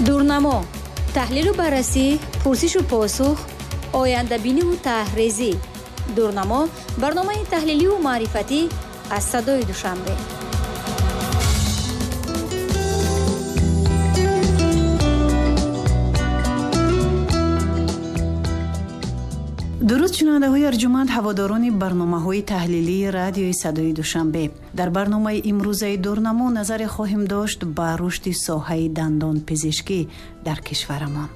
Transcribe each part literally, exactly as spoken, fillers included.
Дурнамо, таҳлилу баррасӣ, пурсишу посух, ояндабиниву таҳрезӣ. Дурнамо, барномаи таҳлиливу маърифатӣ аз садои Душанбе. Дуруд шунавандаҳои арҷуманд, ҳаводорони барномаҳои таҳлилии радиои садои Душанбе. Дар барномаи имрӯзаи Дурнамо назаре хоҳем дошт ба рушди соҳаи дандонпизишкӣ дар кишварамон.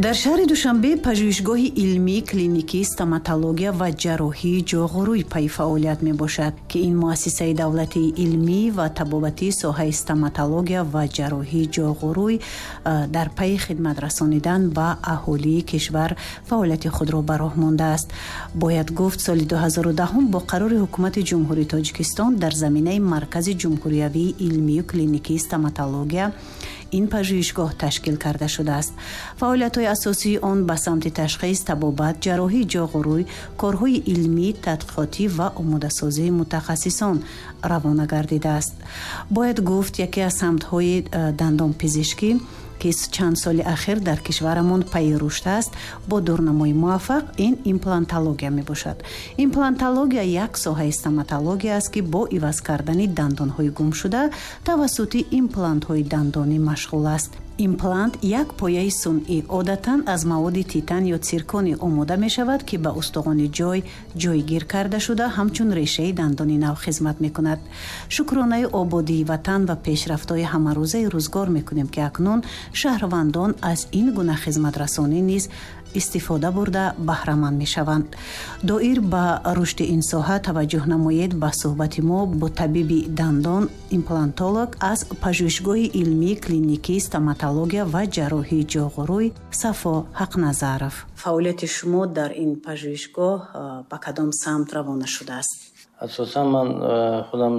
Дар шаҳри Душанбе пажӯҳишгоҳи илмии клиникии стоматология ва ҷарроҳии ҷоғурӯй пайи фаъолият мебошад, ки ин муассисаи давлатии илмӣ ва табобатии соҳаи стоматология ва ҷарроҳии ҷоғурӯй дар пайи хидмат расонидан ба аҳолии кишвар фаъолияти худро ба роҳ мондааст. Бояд гуфт, соли ду ҳазору даҳум бо қарори ҳукумати Ҷумҳурии Тоҷикистон дар заминаи Маркази ҷумҳуриявии илмию клиникии стоматология ин пажӯҳишгоҳ ташкил карда шудааст. Фаъолиятҳои асосии он ба самти ташхис, табобат, ҷарроҳии ҷоғурӯй, корҳои илмӣ, тадқиқотӣ ва омодасозии мутахассисон равона гардидааст. Бояд гуфт, яке аз самтҳои дандонпизишкӣ, ки чанд соли ахир дар кишварамон пайи рушд аст, бо дурнамои муваффақ ин имплантология мебошад. Имплантология як соҳаи стоматология аст, ки бо иваз кардани дандонҳои гумшуда тавассути имплантҳои дандонӣ машғул аст. Имплант як пояи сунъӣ одатан аз маводи титан ё цирконӣ омода мешавад, ки ба устухони ҷой ҷойгир карда шуда ҳамчун решаи дандони нав хизмат мекунад. Шукронаи ободии ватан ва пешрафтҳои ҳамарӯзаи рӯзгор мекунем, ки акнун шаҳрвандон аз ин гуна хизматрасонӣ низ истифода бурда баҳраманд мешаванд. Доир ба рушди ин соҳа таваҷҷӯҳ намоед ба суҳбати мо бо табиби дандон, имплантолог аз пажӯҳишгоҳи илмии клиникии стоматология ва ҷарроҳии ҷоғурӯй Сафо Ҳақназаров. Фаъолияти шумо дар ин пажӯҳишгоҳ ба кадом самт равона шудааст? Асосан ман худам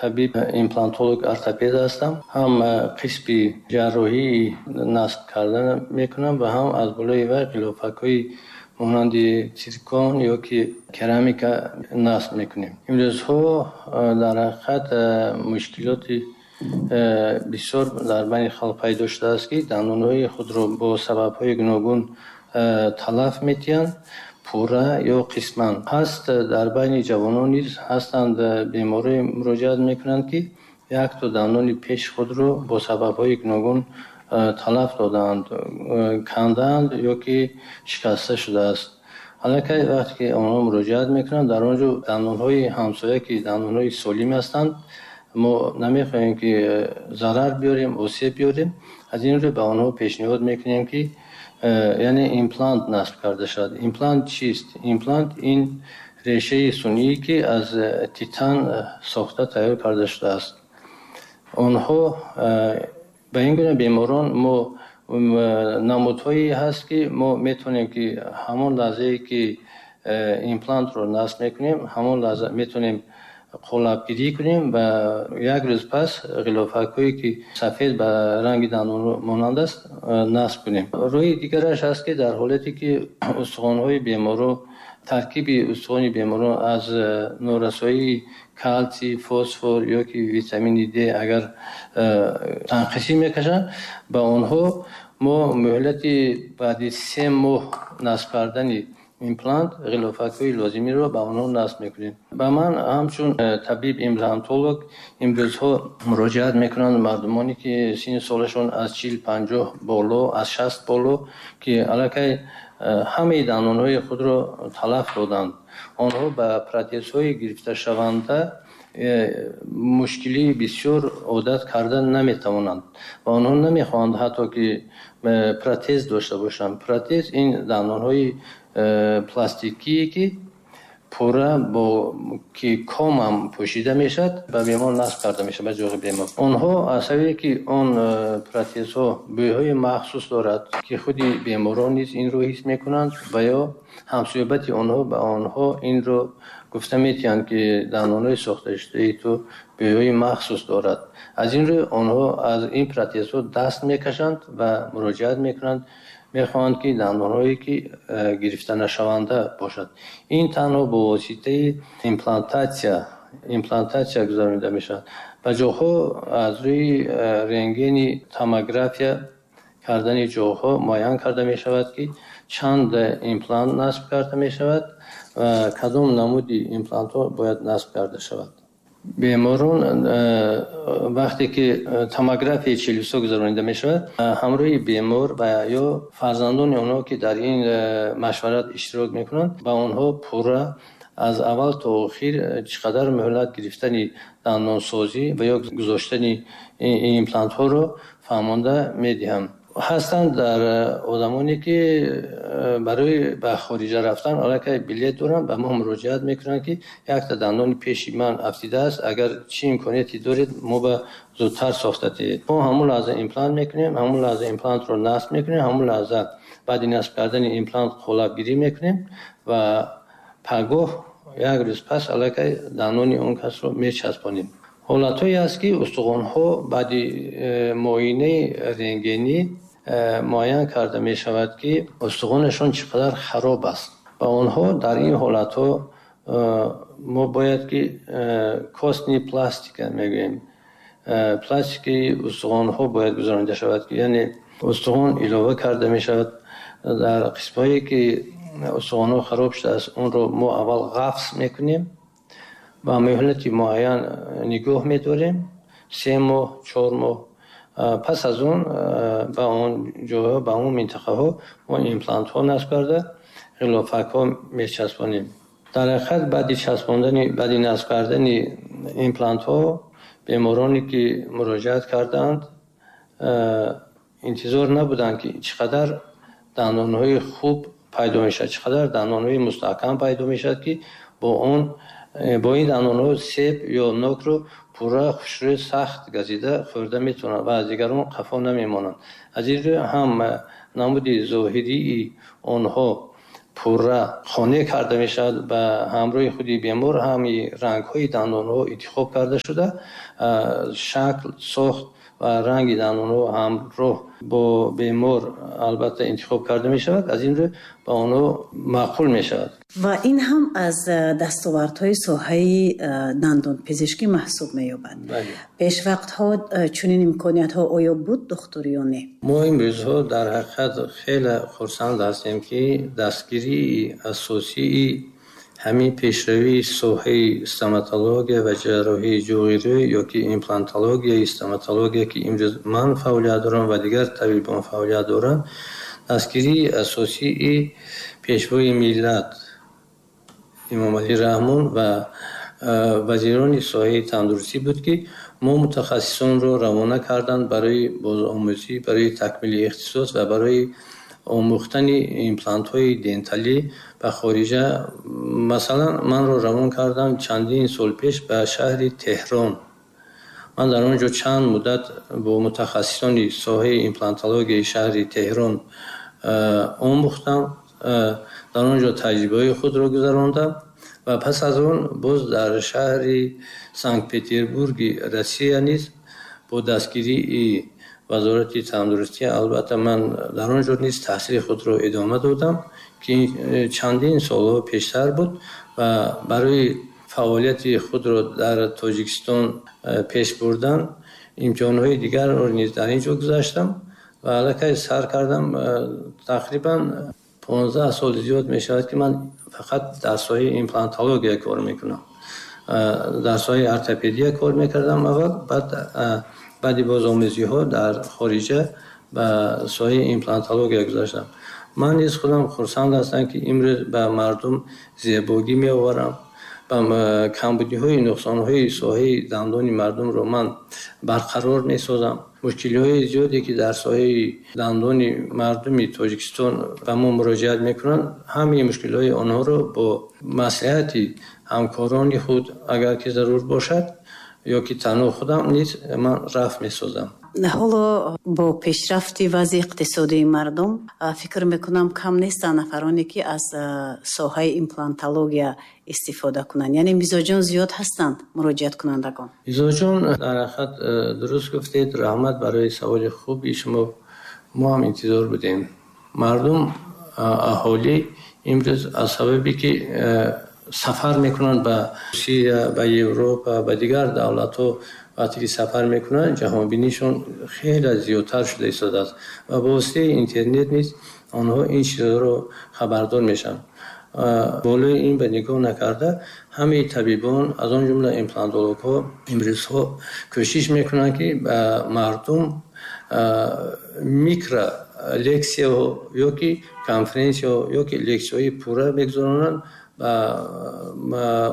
табиб имплантолог ортопед ҳастам. Ҳам қисми ҷарроҳии насб кардан мекунам ва ҳам аз болои вай ғилофакҳои монанди циркон ё ки керамика насб мекунем. Имрӯзҳо дар ҳақиқат мушкилоти бисёр дар байни халқ пайдо шудааст, ки дандонҳои худро бо сабабҳои гуногун талаф метиҳанд, пурра ё қисман. Ҳаст дар байни ҷавонон низ ҳастанд беморое муроҷиат мекунанд, ки якто дандони пеши худро бо сабабҳои гуногун талаф додаанд, кандаанд ё ки шикаста шудааст. Аллакай вақте ки онҳо муроҷиат мекунанд, дар он ҷо дандонҳои ҳамсоя, ки дандонҳои солим ҳастанд, мо намехоҳем ки зарар биёрем, осеб биёрем. Аз ин рӯ ба онҳо пешниҳод мекунем, ки яъне имплант насб карда шавад. Имплант чист? Имплант ин решаи сунъие, ки аз титан сохта тайёр карда шудааст. Онҳо ба ин гуна беморон мо намудҳое ҳаст, ки мо метавонем, ки ҳамон лаҳзае ки имплантро насб мекунем, ҳамон лаҳза метавонем қолабгирӣ кунем ва як рӯз пас ғилофакҳое, ки сафед ба ранги дандон монанд аст, насб кунем. Роҳи дигараш ҳаст, ки дар ҳолате ки устухонҳои беморо, таркиби устухони беморон аз норасоии калсий, фосфор ё ки витамини Д агар танқисӣ мекашанд, ба онҳо мо муҳлати баъди се моҳ насб кардани имплант ғилофакҳои лозимиро ба онҳо насб мекунем. Ба ман ҳамчун табиб имплантолог имрӯзҳо муроҷиат мекунанд мардумоне, ки синну солашон аз чил панҷоҳ боло, аз шаст боло, ки аллакай ҳамаи дандонҳои худро талаф доданд. Онҳо ба протезҳои гирифташаванда мушкилии бисёр одат карда наметавонанд ва онҳо намехоҳанд ҳатто ки протез дошта бошанд. Протез ин дандонҳои пластикие, ки пурра бо ки комам пӯшида мешавад, ба бемор насб карда мешавад, ба ҷоғи бемор. Онҳо аз сабабе ки он протезҳо бӯйҳои махсус дорад, ки худи беморон низ инро ҳис мекунанд ва ё ҳамсӯҳбати онҳо ба онҳо инро гуфта метиҳанд, ки дандонҳои сохташудаи ту бӯйҳои махсус дорад. Аз ин рӯ онҳо аз ин протезҳо даст мекашанд ва муроҷиат мекунанд Мехоҳанд, ки дандонҳое, ки гирифта нашаванда бошад. Ин танҳо бо воситаи имплантатсия имплантатсия гузаронида мешавад. Ба ҷоҳо аз рӯи рентгени томография кардани ҷоҳо муайян карда мешавад, ки чанд имплант насб карда мешавад ва кадом намуди имплантҳо бояд насб карда шавад. Беморон, вақте ки томографияи челюстҳо гузаронида мешавад, ҳамроҳи бемор ва ё фарзандони онҳо, ки дар ин машварат иштирок мекунанд, ба онҳо пурра аз аввал то охир чӣ қадар муҳлат гирифтани дандонсозӣ ва ё гузоштани имплантҳоро фаҳмонда медиҳам. Ҳастанд дар одамоне, ки барои ба хориҷа рафтан аллакай билет доранд, ба мо муроҷиат мекунанд, ки якта дандони пеши ман афтидааст, агар чӣ имконияте доред, мо ба зудтар сохта диҳед. Мо ҳамон лаҳза имплант мекунем, ҳамон лаҳза имплантро насб мекунем, ҳамон лаҳза баъди насб кардани имплант қолабгирӣ мекунем ва пагоҳ як рӯз пас аллакай дандони он касро мечаспонем. Ҳолатҳое аст, ки устухонҳо баъди э, муоинаи рентгенӣ э, муайян карда мешавад, ки устухонашон чӣ қадар хароб аст. Ба онҳо дар ин ҳолатҳо э, мо бояд ки костный пластика мегӯем, пластикаи устухонҳо бояд гузаронида шавад, ки яъне устухон илова карда мешавад. Дар қисмҳое, ки устухонҳо хароб шудааст, онро мо аввал ғафс мекунем ва муҳлати муайян нигоҳ медорем, се моҳ, чор моҳ. Пас аз он ба он ҷойҳо, ба он минтақаҳо мо имплантҳо насб карда, ғилофакҳо мечаспонем. Дар ҳақиқат, баъди часпондани, баъди насб кардани имплантҳо бемороне, ки муроҷиат кардаанд, интизор набуданд, ки чӣ қадар дандонҳои хуб пайдо мешавад, чӣ қадар дандонҳои мустаҳкам пайдо мешавад, ки бо он бо ин дандонҳо себ ё нокро пурра, хушрӯй, сахт газида хӯрда метавонанд ва аз дигарон қафо намемонанд. Аз ин рӯ ҳам намуди зоҳирии онҳо пурра қонеъ карда мешавад. Ба ҳамроҳи худи бемор ҳами рангҳои дандонҳо интихоб карда шуда, шакл, сохт ва ранги дандонҳо ҳамроҳ бо бемор албатта интихоб карда мешавад. Аз ин рӯ ба онҳо маъқул мешавад. Ва ин ҳам аз дастовардҳои соҳаи дандонпизишкӣ маҳсуб меёбад. Пешвақтҳо чунин имкониятҳо оё буд, духтур, ё не? Мо имрӯзҳо дар ҳақиқат хеле хурсанд ҳастем, ки дастгирии асосии ҳамин пешравии соҳаи стоматология ва ҷарроҳии ҷоғи рӯй ё ки имплантологияи стоматология, ки имрӯз ман фаъолият дорам ва дигар табибон фаъолият доранд, дастгирии асосии Пешвои миллат Эмомалӣ Раҳмон ва вазирони соҳаи тандурустӣ буд, ки мо мутахассисонро равона карданд барои бозомӯзӣ, барои такмили ихтисос ва барои омӯхтани имплантҳои денталӣ ба хориҷа. Масалан, манро равон карданд чандин сол пеш ба шаҳри Теҳрон. Ман дар он ҷо чанд муддат бо мутахассисони соҳаи имплантологияи шаҳри Теҳрон омӯхтам, дар он ҷо таҷрибаҳои худро гузарондам ва пас аз он боз дар шаҳри Санкт Петербурги Россия низ бо дастгирии Вазорати тандурустӣ, албатта, ман дар он ҷо низ таҳсили худро идома додам, ки чандин солҳо пештар буд. Ва барои фаъолияти худро дар Тоҷикистон пеш бурдан имтиҳонҳои дигарро низ дар ин ҷо гузаштам ва аллакай сар кардам. Тақрибан понздаҳ сол зиёд мешавад, ки ман фақат дар соҳаи имплантология кор мекунам. Дар соҳаи ортопедия кор мекардам аввал, баъд баъди бозомӯзиҳо дар хориҷа ба соҳаи имплантология гузаштам. Ман низ худам хурсанд ҳастам, ки имрӯз ба мардум зебогӣ меоварам ва камбудиҳои, нуқсонҳои соҳаи дандони мардумро ман барқарор месозам. Мушкилиҳои зиёде, ки дар соҳаи дандони мардуми Тоҷикистон ба мо муроҷиат мекунанд, ҳамаи мушкилиҳои онҳоро бо маслиҳати ҳамкорони худ, агар ки зарур бошад, ё ки танҳо худам низ ман рафъ месозам. Ҳоло бо пешрафти вазъи иқтисодии мардум, фикр мекунам, кам нестанд нафароне, ки аз соҳаи имплантология истифода кунанд. Яъне мизоҷон зиёд ҳастанд, муроҷиаткунандагон? Мизоҷон, дар ҳақиқат, дуруст гуфтед. Раҳмат барои саволи хуби шумо. Мо ҳам интизор будем. Мардум, аҳолӣ имрӯз аз сабабе ки сафар мекунанд ба Русия, ба Европа, ба дигар давлатҳо, вақте ки сафар мекунанд, ҷаҳонбинишон хеле зиёдтар шуда истодааст ва ба воситаи интернет низ онҳо ин чизҳоро хабардор мешаванд. Болои ин ба нигоҳ накарда, ҳамаи табибон, аз он ҷумла имплантологҳо, имрӯзҳо кӯшиш мекунанд, ки ба мардум микро лексияҳо ё ки конференсияҳо ё ки лексияҳои пурра мегузаронанд,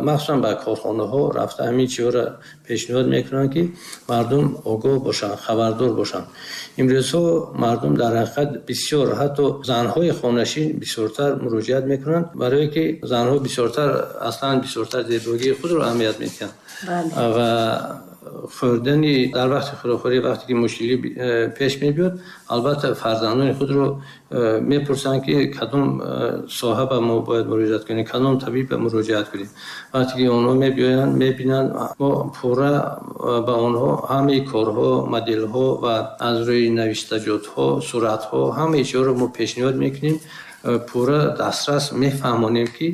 махсусан ба корхонаҳо рафта ҳамин чизҳоро пешниҳод мекунанд, ки мардум огоҳ бошанд, хабардор бошанд. Имрӯзҳо мардум дар ҳақиқат бисёр, ҳатто занҳои хонашин бисёртар муроҷиат мекунанд, барое ки занҳо бисёртар, аслан бисёртар зебогии худро аҳамият медиҳанд ва хӯрдани дар вақти хӯрокхӯрӣ, вақте ки мушкилӣ пеш мебиёд, албатта фарзандони худро мепурсанд, ки кадом соҳа ба мо бояд муроҷиат кунем, кадом табиб ба муроҷиат кунем. Вақте ки онҳо мебиёянд, мебинанд, мо пурра ба онҳо ҳамаи корҳо, моделҳо ва аз рӯи навиштаҷотҳо, суратҳо, ҳамаи чизҳоро мо пешниҳод мекунем, пурра дастрас мефаҳмонем, ки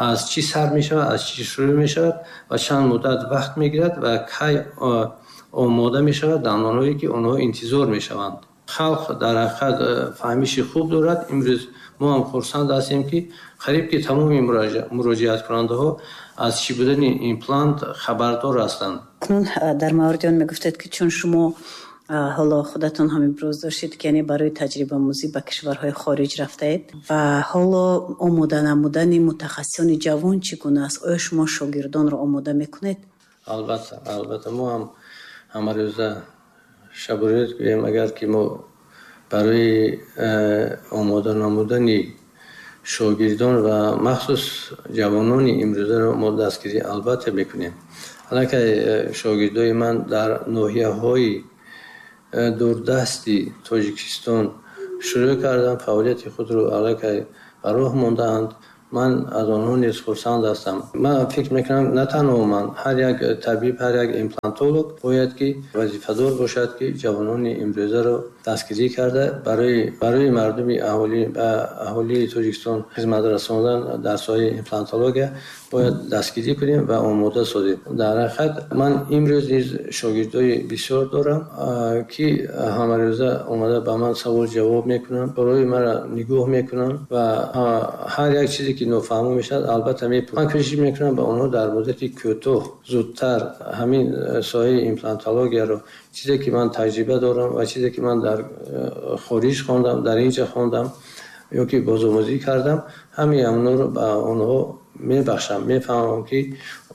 аз чӣ сар мешавад, аз чӣ шурӯъ мешавад ва чанд муддат вақт мегирад ва кай омода мешавад дандонҳое, ки онҳо интизор мешаванд. Халқ дар ҳақиқат фаҳмиши хуб дорад. Имрӯз мо ҳам хурсанд ҳастем, ки қариб ки тамоми муроҷиаткунандаҳо аз чӣ будани имплант хабардор ҳастанд. Акнун дар мавриди он мегуфтед, ки чун шумо ҳоло худатон ҳам имрӯз доштед, ки яъне барои таҷрибаомӯзӣ ба кишварҳои хориҷ рафтаед ва ҳоло омода намудани мутахассисони ҷавон чӣ гуна аст? Оё шумо шогирдонро омода мекунед? Албатта, албатта, мо ҳам ҳамарӯза шабу рӯз гӯем, агар ки мо барои омода намудани шогирдон ва махсус ҷавонони имрӯзаро мо дастгирӣ албатта мекунем. Аллакай шогирдои ман дар ноҳияҳои дурдасти Тоҷикистон шурӯъ карданд, фаъолияти худро аллакай ба роҳ мондаанд. Ман аз онҳо низ хурсанд ҳастам. Ман фикр мекунам, на танҳо ман, ҳар як табиб, ҳар як имплантолог бояд ки вазифадор бошад, ки ҷавонони имрӯзаро дастгирӣ карда барои барои мардуми аҳолӣ, ба аҳолии Тоҷикистон хизмат расондан дар соҳаи имплантология бояд дастгирӣ кунем ва омода созем. Дар ҳақиқат ман имрӯз низ шогирдои бисёр дорам, ки ҳамарӯза омада ба ман савол ҷавоб мекунанд, барои маро нигоҳ мекунанд ва ҳар як чизе ки нофаҳмо мешавад, албатта мепурсанд. Ман кӯшиш мекунам ба онҳо дар муддати кӯтоҳ зудтар ҳамин соҳаи имплантологияро, чизе ки ман таҷриба дорам ва чизе ки ман дар хориҷ хондам, дар инҷа хондам ё ки бозомӯзӣ кардам, ҳамаи онҳоро ба онҳо мебахшам, мефаҳмам, ки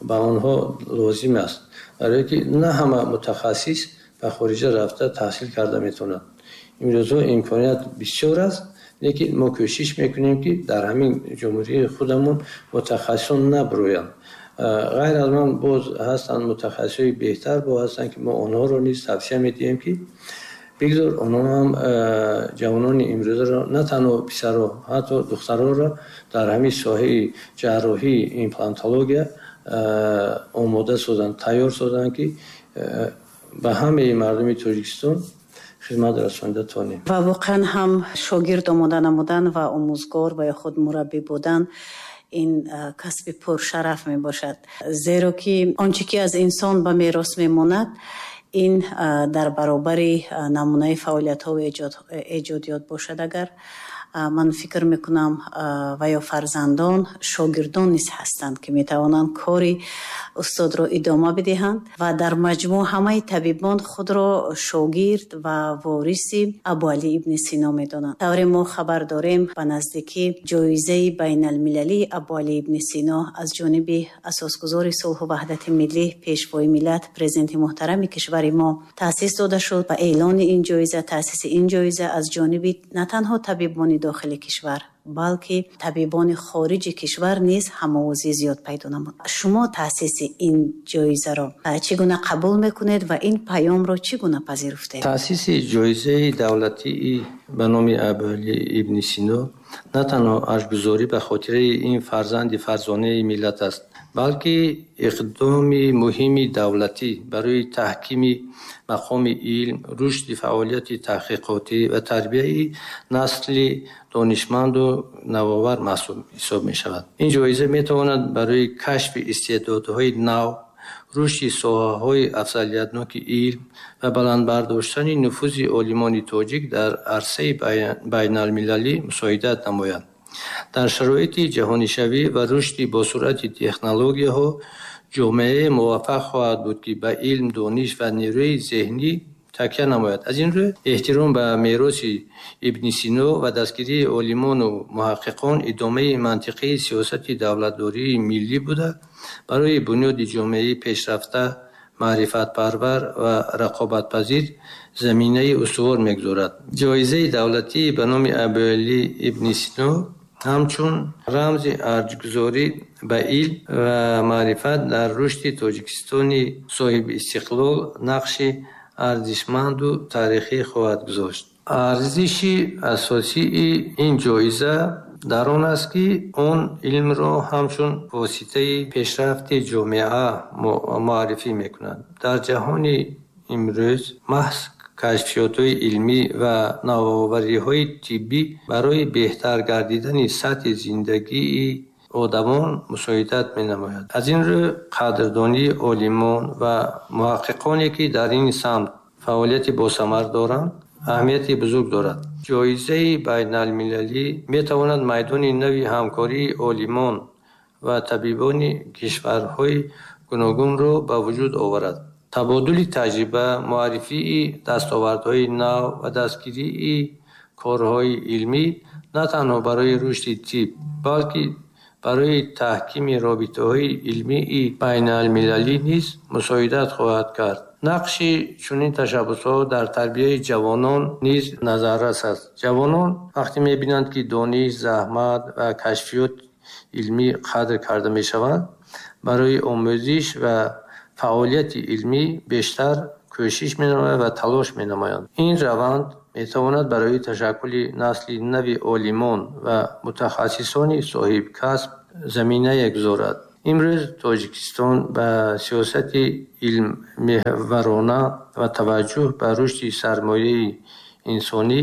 ба онҳо лозим аст, барое ки на ҳама мутахассис ба хориҷа рафта таҳсил карда метавонад. Имрӯзҳо имконият бисёр аст, лекин мо кӯшиш мекунем, ки дар ҳамин ҷумҳурии худамон мутахассисон набурӯянд. Ғайр аз ман боз ҳастанд мутахассисои беҳтар, бо ҳастанд, ки мо онҳоро низ тавсия медиҳем, ки бигзор онҳо ҳам ҷавонони имрӯзаро, на танҳо писаро, ҳатто духтароро дар ҳамин соҳаи ҷарроҳии имплантология омода созанд, тайёр созанд, ки ба ҳамаи мардуми Тоҷикистон хизмат расонида тавонем. Ва воқеан ҳам шогирд омода намудан ва омӯзгор ва ё худ мураббӣ будан ин касби пуршараф мебошад, зеро ки он чӣ ки аз инсон ба мерос мемонад, ин дар баробари намунаи фаъолиятҳо ва эҷодиёт бошад. Агар ман фикр мекунам, ва ё фарзандон, шогирдон низ ҳастанд, ки метавонанд кори устодро идома бидиҳанд ва дар маҷмӯъ ҳамаи табибон худро шогирд ва вориси Абуалӣ ибни Сино медонанд. Тавре мо хабар дорем, ба наздикӣ ҷоизаи байналмилалии Абуалӣ ибни Сино аз ҷониби асосгузори сулҳу ваҳдати миллӣ, пешвои миллат, президенти муҳтарами кишвари мо таъсис дода шуд ва эълони ин ҷоиза, таъсиси ин ҷоиза аз ҷониби на танҳо табибони дохили кишвар, Балки табибони хориҷи кишвар низ ҳамовозӣ зиёд пайдо намуд. Шумо таъсиси ин ҷоизаро чӣ гуна қабул мекунед ва ин паёмро чӣ гуна пазируфтед? Таъсиси ҷоизаи давлатии ба номи Абуалӣ ибни Сино на танҳо арҷгузорӣ ба хотираи ин фарзанди фарзонаи миллат аст, балки иқдоми муҳими давлатӣ барои таҳкими мақоми илм, рушди фаъолияти таҳқиқотӣ ва тарбияи насли донишманду навовар маҳсуб ҳисоб мешавад. Ин ҷоиза метавонад барои кашфи истеъдодҳои нав, рушди соҳаҳои афзалиятноки илм ва баланд бардоштани нуфузи олимони тоҷик дар арсаи байналмилалӣ мусоидат намояд. Дар шароити ҷаҳонишавӣ ва рушди босуръати технологияҳо ҷомеае муваффақ хоҳад буд, ки ба илм, дониш ва нерӯи зеҳнӣ такя намояд. Аз ин рӯ эҳтиром ба мероси Ибни Сино ва дастгирии олимону муҳаққиқон идомаи мантиқии сиёсати давлатдории миллӣ буда, барои бунёди ҷомеаи пешрафта, маърифатпарвар ва рақобатпазир заминаи устувор мегузорад. Ҷоизаи давлатӣ ба номи Абуалӣ ибни Сино ҳамчун рамзи арҷгузорӣ ба илм ва маърифат дар рушди Тоҷикистони соҳибистиқлол нақши арзишманду таърихӣ хоҳад гузошт. Арзиши асосии ин ҷоиза дар он аст, ки он илмро ҳамчун воситаи пешрафти ҷомеа муаррифӣ мекунад. Дар ҷаҳони имрӯз маҳз кашфиётҳои илмӣ ва навовариҳои тиббӣ барои беҳтар гардидани сатҳи зиндагии одамон мусоидат менамояд. Аз ин рӯ қадрдонии олимон ва муҳаққиқоне, ки дар ин самт фаъолияти босамар доранд, аҳамияти бузург дорад. Ҷоизаи байналмилалӣ метавонад майдони нави ҳамкории олимон ва табибони кишварҳои гуногунро ба вуҷуд оварад. Табодули таҷриба, муаррифии дастовардҳои нав ва дастгирии корҳои илмӣ на танҳо барои рушди тиб, балки барои таҳкими робитаҳои илмии байналмилалӣ низ мусоидат хоҳад кард. Нақши чунин ташаббусҳо дар тарбияи ҷавонон низ назаррас аст. Ҷавонон вақте мебинанд, ки дониш, заҳмат ва кашфиёт илмӣ қадр карда мешаванд, барои омӯзиш ва фаъолияти илмӣ бештар кӯшиш менамоянд ва талош менамоянд. Ин раванд метавонад барои ташаккули насли нави олимон ва мутахассисони соҳибкасб заминае гузорад. Имрӯз Тоҷикистон ба сиёсати илммеҳварона ва таваҷҷӯҳ ба рушди сармояи инсонӣ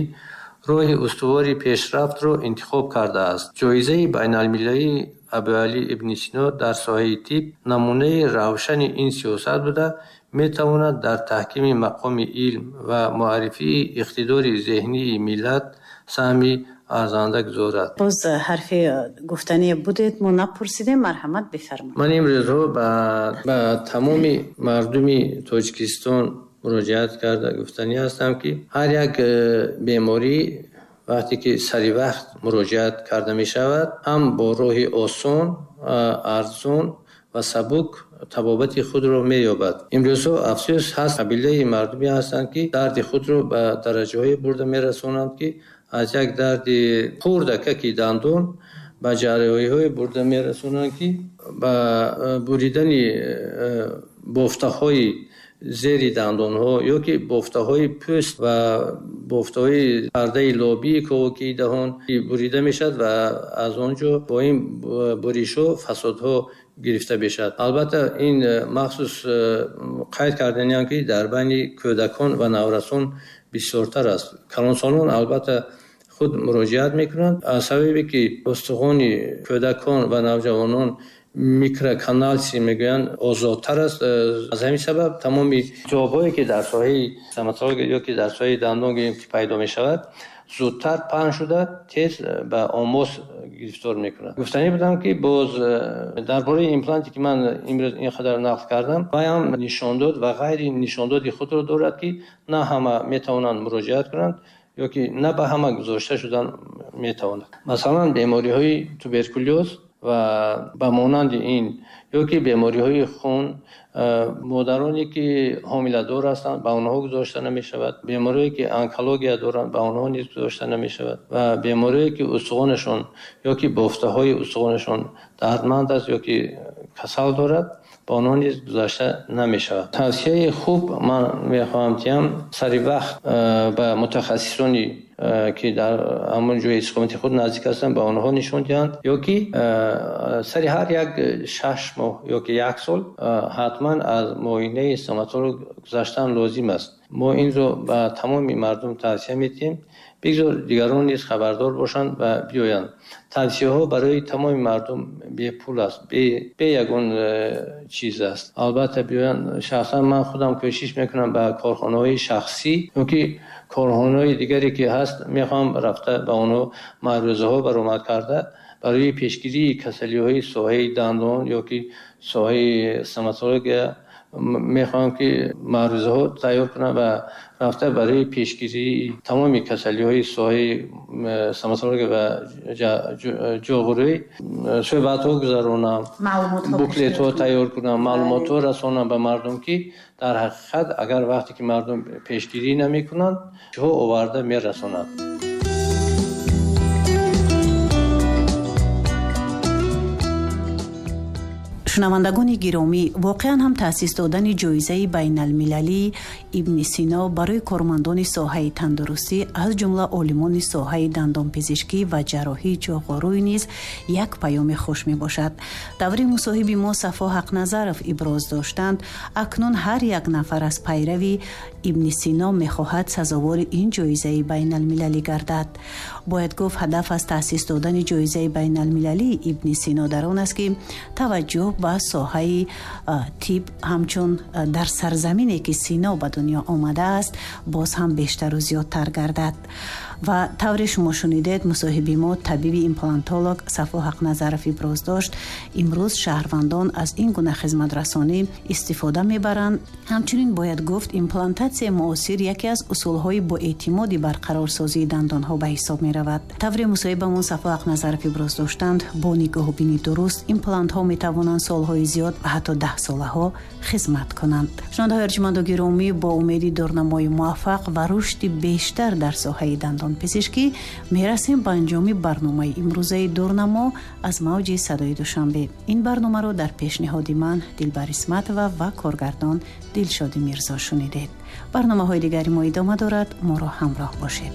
роҳи устувори пешрафтро интихоб кардааст. Ҷоизаи байналмилалии Абуалӣ ибни Сино дар соҳаи тиб намунаи равшани ин сиёсат буда, метавонад дар таҳкими мақоми илм ва муаррифии иқтидори зеҳнии миллат саҳми арзанда гузорад. Боз ҳарфи гуфтание будед, мо напурсидем, марҳамат бифармоед. Ман имрӯзҳо ба тамоми мардуми Тоҷикистон муроҷиат карда гуфтанӣ ҳастам, ки ҳар як беморӣ вақте ки сари вақт муроҷиат карда мешавад, ҳам бо роҳи осон, арзон ва сабук табобати худро меёбад. Имрӯзҳо афсӯс ҳаст, қабилаи мардуме ҳастанд, ки дарди худро ба дараҷаҳое бурда мерасонанд, ки аз як дарди хурдакаки дандон ба ҷарроҳиҳое бурда мерасонанд, ки ба буридани бофтаҳои зери дандонҳо ё ки бофтаҳои пӯст ва бофтаҳои пардаи лобии ковокии даҳон бурида мешавад ва аз он ҷо бо ин буришҳо фасодҳо гирифта мешавад. Албатта ин махсус қайд карданиам, ки дар байни кӯдакон ва наврасон бисёртар аст. Калонсолон албатта худ муроҷиат мекунанд. Аз сабабе ки устухони кӯдакон ва навҷавонон микроканалси мегӯянд озодтар аст, аз ҳамин сабаб тамоми ҷавобҳое ки дар соҳаи стоматология ё ки дар соҳаи дандон ки пайдо мешавад, зудтар паҳн шуда тез ба омос гирифтор мекунад. Гуфтанӣ будам, ки боз дар бораи импланте ки ман имрӯз ин қадар нақл кардам, вай ҳам нишондод ва ғайри нишондоди худро дорад, ки на ҳама метавонанд муроҷиат кунанд ё ки на ба ҳама гузошта шудан метавонад. Масалан, бемориҳои туберкулёз ва ба монанди ин ё ки бемориҳои хун, модароне ки ҳомиладор ҳастанд ба онҳо гузошта намешавад, беморие ки онкология доранд ба онҳо низ гузошта намешавад ва беморие ки устухонашон ё ки бофтаҳои устухонашон дардманд аст ё ки касал дорад ба онҳо низ гузошта намешавад. Тавсияи хуб ман мехоҳам диҳам, сари вақт ба мутахассисоне ки дар ҳамон ҷои истиқомати худ наздик ҳастанд ба онҳо нишон диҳанд, ё ки сари ҳар як шаш моҳ ё ки як сол ҳатман аз муоинаи стоматолог гузаштан лозим аст. Мо инро ба тамоми мардум тавсия медиҳем, бигзор дигарон низ хабардор бошанд ва биёянд. Тавсияҳо барои тамоми мардум бепул аст, бе ягон чиз аст. Албатта биёянд. Шахсан ман худам кӯшиш мекунам ба корхонаҳои шахсӣ ё ки корхонаҳои дигаре ки ҳаст мехоҳам рафта ба онҳо маърузаҳо баромад карда барои пешгирии касалиҳои соҳаи дандон ё ки соҳаи стоматология мехоҳам ки маърузаҳо тайёр кунам ва рафта барои пешгирии тамоми касалиҳои соҳаи стоматология ва ҷоғурӣ суҳбатҳо гузаронам, буклетҳо тайёр кунам, маълумотҳо расонам ба мардум, ки дар ҳақиқат агар вақте ки мардум пешгирӣ намекунанд, чиҳо оварда мерасонанд. Шунавандагони гиромӣ, воқеан ҳам таъсис додани ҷоизаи байналмилалии Ибни Сино барои кормандони соҳаи тандурустӣ, аз ҷумла олимони соҳаи дандонпизишкӣ ва ҷарроҳии ҷоғорӯй низ як паёми хуш мебошад. Даври мусоҳиби мо Сафо Ҳақназаров иброз доштанд, акнун ҳар як нафар аз пайрави Ибни Сино мехоҳад сазовори ин ҷоизаи байналмилалӣ гардад. Бояд гуфт, ҳадаф аз таъсис додани ҷоизаи байналмилалии Ибни Сино дар он аст, ки таваҷҷӯҳ ба соҳаи тиб ҳамчун дар сарзамине ки Сино ба дунё омадааст боз ҳам бештару зиёдтар гардад. Ва тавре шумо шунидед, мусоҳиби мо табиби имплантолог Сафо Ҳақназаров иброз дошт, имрӯз шаҳрвандон аз ин гуна хизматрасонӣ истифода мебаранд. Ҳамчунин бояд гуфт, имплантатсияи муосир яке аз усулҳои боэътимоди барқарорсозии дандонҳо ба ҳисоб меравад. Тавре мусоҳибамон Сафо Ҳақназаров иброз доштанд, бо нигоҳубини дуруст имплантҳо метавонанд солҳои зиёд ва ҳатто даҳсолаҳо хизмат кунанд. Шунавандаҳои арҷманду гиромӣ, бо умеди дурнамои муваффақ ва рушди бештар дар соҳаи дандонпизишкӣ мерасем ба анҷоми барномаи имрӯзаи Дурнамо аз мавҷи садои Душанбе. Ин барномаро дар пешниҳоди ман Дилбар Исматова ва коргардон Дилшоди Мирзо шунидед. Барномаҳои дигари мо идома дорад, моро ҳамроҳ бошед.